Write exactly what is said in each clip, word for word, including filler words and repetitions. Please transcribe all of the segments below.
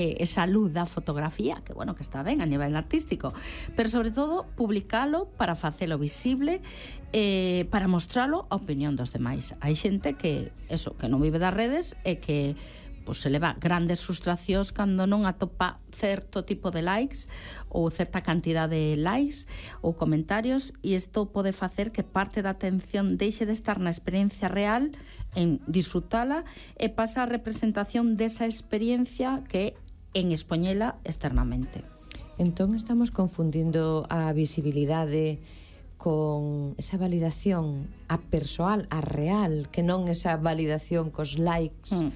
esa luz da fotografía, que bueno, que está ben a nivel artístico, pero sobre todo publicalo para facelo visible, eh, para mostralo a opinión dos demais. Hai xente que, eso, que non vive das redes e que pues, se leva grandes frustracións cando non atopa certo tipo de likes ou certa cantidad de likes ou comentarios, e isto pode facer que parte da atención deixe de estar na experiencia real, en disfrutala, e pasa a representación desa experiencia que en expoñela externamente. Entón estamos confundindo a visibilidade con esa validación a persoal, a real, que non esa validación cos likes, mm.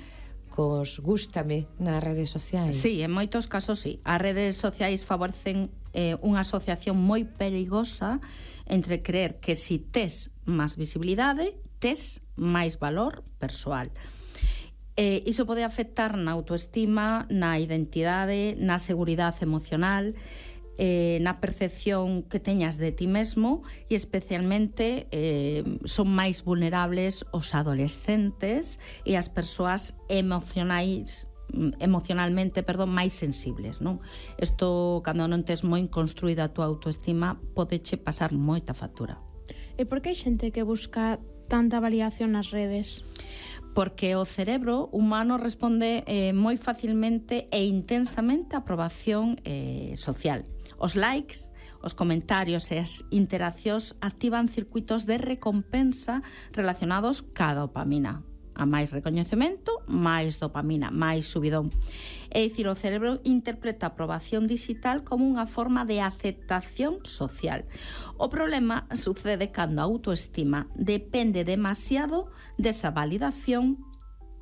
cos gústame nas redes sociais. Sí, en moitos casos sí. As redes sociais favorecen eh, unha asociación moi perigosa entre creer que si tes máis visibilidade, tes máis valor persoal. Eh, iso pode afectar na autoestima, na identidade, na seguridade emocional, eh, na percepción que teñas de ti mesmo, e especialmente eh, son máis vulnerables os adolescentes e as persoas emocionais emocionalmente, perdón, máis sensibles, non? Isto, cando non tes moi construída a tua autoestima, podeche pasar moita factura. E por que hai xente que busca tanta validación nas redes? Porque o cerebro humano responde eh, moi facilmente e intensamente a aprobación eh, social. Os likes, os comentarios e as interaccións activan circuitos de recompensa relacionados ca dopamina. A máis recoñecemento, máis dopamina, máis subidón. É dicir, o cerebro interpreta a aprobación digital como unha forma de aceptación social. O problema sucede cando a autoestima depende demasiado desa validación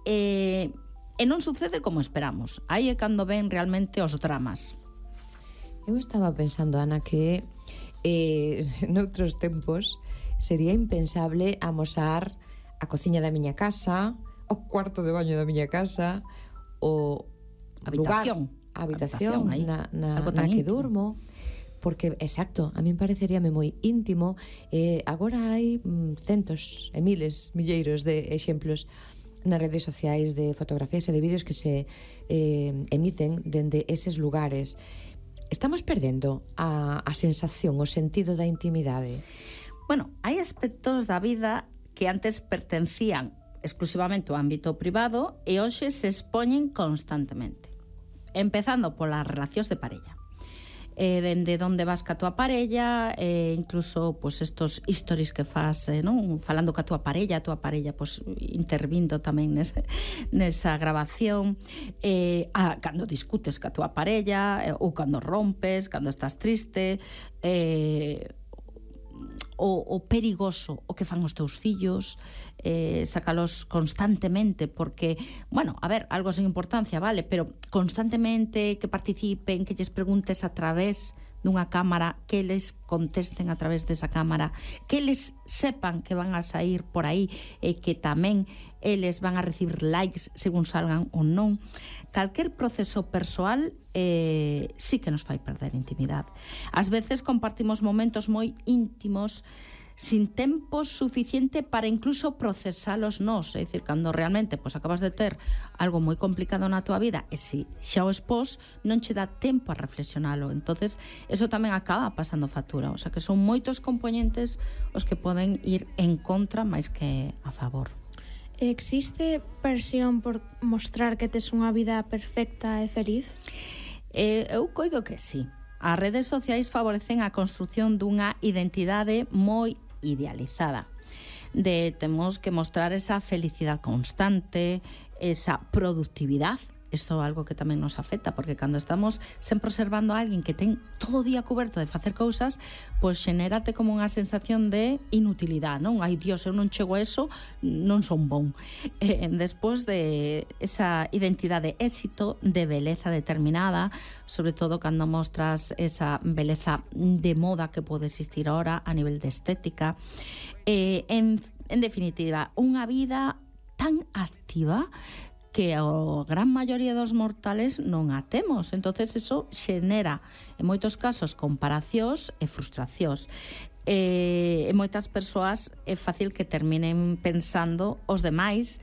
e, e non sucede como esperamos. Aí é cando ven realmente os dramas. Eu estaba pensando, Ana, que eh, noutros tempos sería impensable amosar a cociña da miña casa, o cuarto de baño da miña casa, o habitación, lugar, a habitación, habitación na, na, na que íntimo. durmo, porque, exacto, a min pareceríame moi íntimo. Eh, agora hai mm, centos e miles, milleiros de exemplos nas redes sociais de fotografías e de vídeos que se eh, emiten dende eses lugares. Estamos perdendo a, a sensación, o sentido da intimidade. Bueno, hai aspectos da vida que antes pertencían exclusivamente ao ámbito privado e hoxe se expoñen constantemente. Empezando polas relacións de parella. Eh, dende onde vas ca tua parella, eh, incluso pues, estos stories que faz, eh, non? Falando ca tua parella, a tua parella pues, intervindo tamén nese, nesa grabación, eh, a, cando discutes ca tua parella, eh, ou cando rompes, cando estás triste, eh, O, o perigoso o que fan os teus fillos, eh, sacalos constantemente, porque, bueno, a ver, algo sen importancia, vale, pero constantemente que participen, que lles preguntes a través dunha cámara, que les contesten a través desa cámara, que les sepan que van a sair por aí e que tamén eles van a recibir likes según salgan ou non. Calquer proceso persoal eh, sí que nos fai perder intimidade. Ás veces compartimos momentos moi íntimos sin tempo suficiente para incluso procesalos nós, é dicir, cando realmente pois, acabas de ter algo moi complicado na tua vida e se xa o expós non che dá tempo a reflexionalo, entonces eso tamén acaba pasando factura, o sea que son moitos componentes os que poden ir en contra máis que a favor. Existe presión por mostrar que tes unha vida perfecta e feliz? Eh, eu coido que sí. As redes sociais favorecen a construción dunha identidade moi idealizada. De temos que mostrar esa felicidade constante, esa productividade. Isto é algo que tamén nos afecta, porque cando estamos sempre observando a alguén que ten todo o día coberto de facer cousas, pois xenérate como unha sensación de inutilidade, non? Ai, Dios, eu non chego a eso, non son bon. E, despois de esa identidade de éxito, de beleza determinada, sobre todo cando mostras esa beleza de moda que pode existir ahora a nivel de estética, e, en, en definitiva, unha vida tan activa que a gran maioría dos mortales non a temos. Entonces eso xenera, en moitos casos, comparacións e frustracións. E, en moitas persoas é fácil que terminen pensando os demais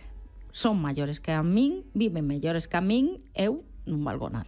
son maiores que a min, viven mellores que a min, eu non valgo nada.